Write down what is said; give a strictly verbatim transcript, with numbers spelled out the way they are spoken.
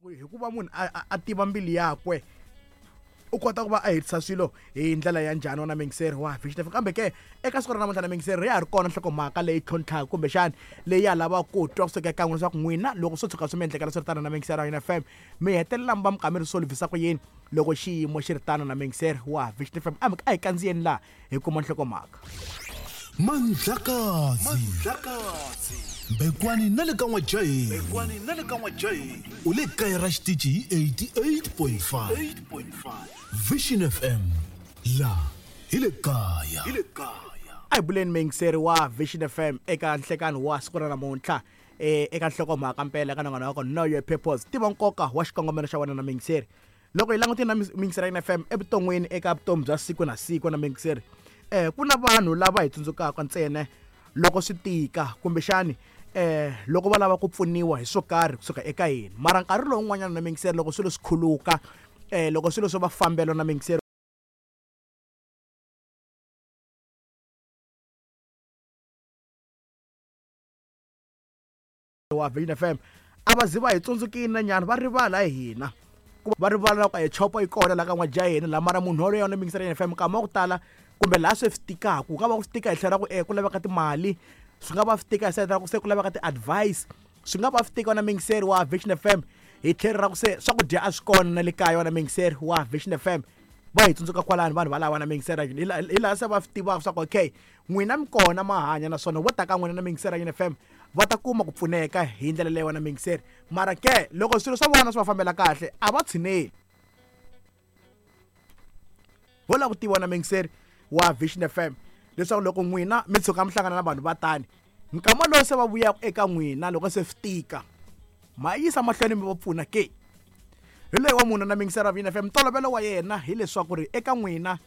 Hikuva munhu a a tiva mbilu yakwe u kota ku va a hetisa swilo hi ndlela ya njhani wona muyingiseri wa Vision F M. Kambe ke eka siku ra namuntlha na muyingiseri ya ha ri kona nhlokomhaka leyi tlhontlhaka kumbexani leyi ya lavaka ku twa kusuka eka n'wina leswaku n'wina loko swo tshuka swi mi endlekela swi ri tano na muyingiseri wa F M mi hetelela mi va mi kha mi ri solvhisa ku yini loko xiyimo xi ri tano na muyingiseri wa Vision F M. A hi kandziyeni laha hi kuma nhlokomhaka. Mandlakazi Mandlakazi Mbekwani na le ka N'wajahi Mbekwani na le ka N'wajahi u le kaya ra xitichi hi eighty-eight point five Vision F M la hi le kaya hi le kaya. A hi buleni muyingiseri wa Vision F M eka nhlekani wa siku ra namuntlha eh eka nhlokomhaka mpela eka nongonoko wa ku Know Your Purpose, tiva nkoka wa xikongomelo xa wena na muyingiseri. Loko hi langutile na muyingiseri ya F M evuton'wini eka vutomi bya siku na siku na muyingiseri eh ku na vanhu lava hi tsundzukaka ntsena loko swi tika kumbexani eh loko va lava ku pfuniwa hi swo karhi kusuka eka hina, mara nkarhi lowun'wanyana na muyingiseri loko swilo swi khuluka eh loko swilo swo va fambela na muyingiseri wa Vision F M a va zi va hi tsundzukile na nyana va rivala hi hina va rivala ku hi chopo yi kona la ka N'wajahi la mara munhu wolowo na muyingiseri ya F M nkama wa ku tala kumbe laha swi tikaka ku nga va ku swi tika hi tlhela ku eh ku laveka timali, swi nga va swi tika hi side ra ku se ku laveka ti-advice, swi nga va swi tika na muyingiseri wa Vision F M hi tlhelo ra ku se swakudya a swi kona na le kaya na muyingiseri wa Vision F M va hi tsundzuka kwalano vanhu valava na muyingiseri hi laha se va swi tivaka swa ku okay n'wina mi kona ma hanya naswona vo ta ka n'wina na muyingiseri ya F M va ta kuma ku pfuneka hi ndlela leyi wena muyingiseri. Mara ke loko swilo swa vona swi va fambela kahle a va tshineli ho lava ku tiva na muyingiseri wa Vision F M leswaku loko n'wina mi tshuka mi hlangana na vanhu va tani nkama lowu se va vuyaka eka n'wina loko se swi tika ma yisa mahlweni mi va pfuna ke. Hi loyi wa munhu na muyingiseri wa Vision F M ntolovelo wa yena hileswaku ri eka n'wina